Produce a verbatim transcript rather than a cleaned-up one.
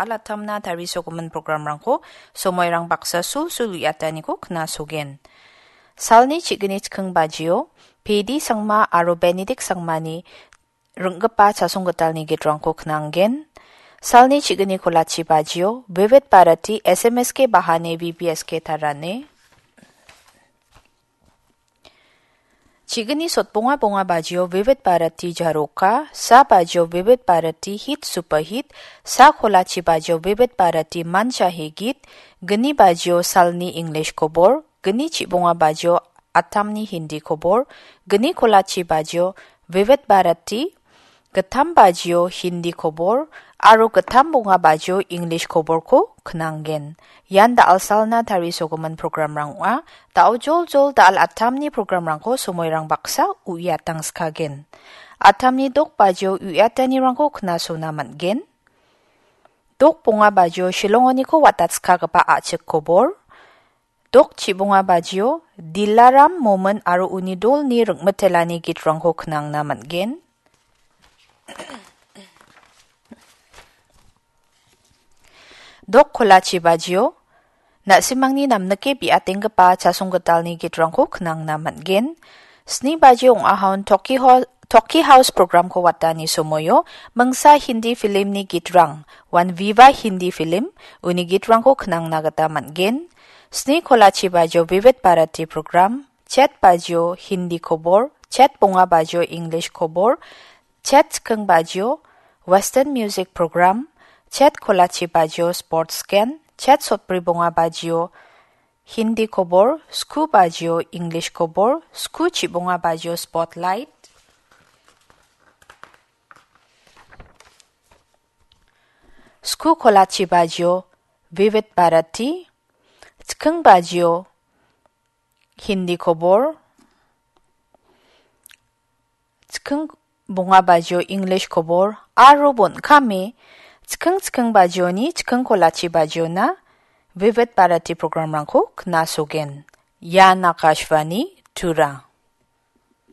alatamna tarisogimin programrangko somoirang baksa sulsul uiataniko knasogen. Salni chigni chikking bajio, Pedi Sangma aro Benedict Sangmani ringgipa chasonggitalni gitrangko knanggen. Salni chigni kolachi bajio, Vivid Bharati S M S K Bahane V B S K Tarane. Chigni sotbonga bonga bajio Vivid Bharati Jaroka, sa bajio Vivid Bharati Hit Super Hit, sa kolachi bajio Vivid Bharati Mancha Hegit, gni bajio Salni English Kobor, gni chibonga bajio Atamni Hindi Kobor, gni kolachi bajio Vivid Bharati, gittam bajio Hindi Kobor, aro gittam bonga bajio English Koborko knanggen. Ian da·alsalna tarisogimin programrang ong·a. Da·o joljol da·al Atamni programrangko somoirang baksa uiatangskagen. Atamni dok bajio uiatanirangko knasona man·gen. Dok bonga bajio Shillongoniko watatskagipa a·chik kobor. Dok chibonga bajio Dilaram Momin aro uni dolni ringmitelani gitrangko knangna man·gen. Dok kolachi bajio, na·simangni namnike bi·atenggipa chasonggitalni gitrangko knangna man·gen. Sni bajio ong·ahaon Toki Ho-, Toki House programko watani somoio mingsa Hindi filmni gitrang, wan Viva Hindi Film, uni gitrangko knangna gita man·gen. Sni kolachi bajio Vivid Bharati program, chet bajio Hindi kobor, chet bonga bajio English kobor, chet chikking bajio Western Music Program, chet kolachi bajio Sports Scan, chet sotbri bonga bajio Hindi kobor, sku bajio English kobor, sku chibonga bajio Spotlight, sku kolachi bajio Vivid Bharati, chikking bajio Hindi kobor, chikking bonga bajio English kobor, aro bon·kame chikking chikking bajioni chikking kolachi bajiona Vivid Bharati programrangko knasogen. Ian Akashvani Tura.